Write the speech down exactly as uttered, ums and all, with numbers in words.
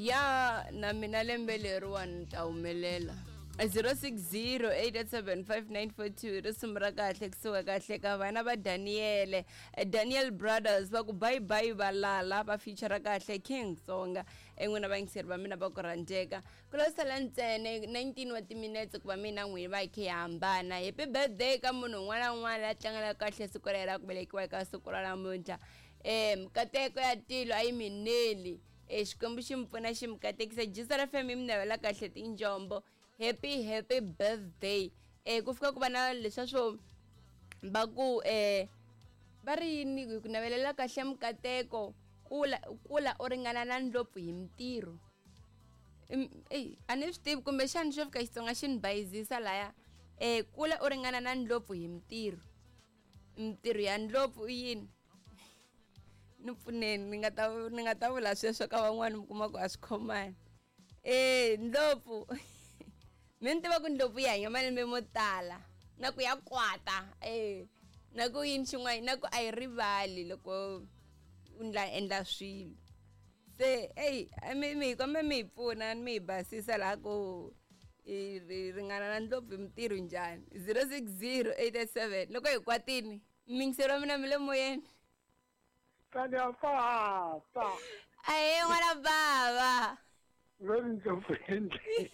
Ya na mina lembe leriwani ni ta humelela. zero six zero eight eight seven five nine four two risimu ra kahle kusuka kahle ka vana va Daniel, Daniel Brothers va ku bye bye valala va feature kahle King Tsonga. En'wina vayingiseri va mina va ku rhandzeka ku lo sala ntsena nineteen wa timinetse ku va mina n'wini va hi khe hi hambana. Happy birthday ka munhu un'wana na un'wana la tlangelaka kahle siku ra yena ku velekiwa eka siku ra namuntlha. um nkateko ya tilo a yi mineli, e Xikwembu xi mi pfuna xi mi katekisa. Jisa ra F M yi mi navela kahle tinjombo. Happy happy birthday. eh ku fika ku va na leswa swo va ku eh va ri yini hi ku navelela kahle mikateko, kula kula u ringana na ndlopfu hi mintirho. Eyi, a ni swi tivi kumbexani xo fika Xitsonga xi ni bayizisa laya. eh kula u ringana na ndlopfu hi mintirho, mintirho ya ndlopfu i yini? Ni pfuneni, ni nga ta ni nga ta vula sweswo ka van'wani mi kuma ku a swi khomani. Eh ndlopfu mi ni tiva ku ndlopfu yi hanya malembe mo tala na ku ya kwata, eh na ku yini xin'wana, na ku a yi rivali loko u ndla endla swilo. Se eyi mi mi kombe mi hi pfuna mi hi basisa laha ku i ringana na ndlopfu hi mintirho njhani. zero six zero eight eight seven loko hi kwatini miyingiseri wa mina mi le moyeni. Tani papa. Ahee n'wana bava. Ve ri ndlopfu endleni.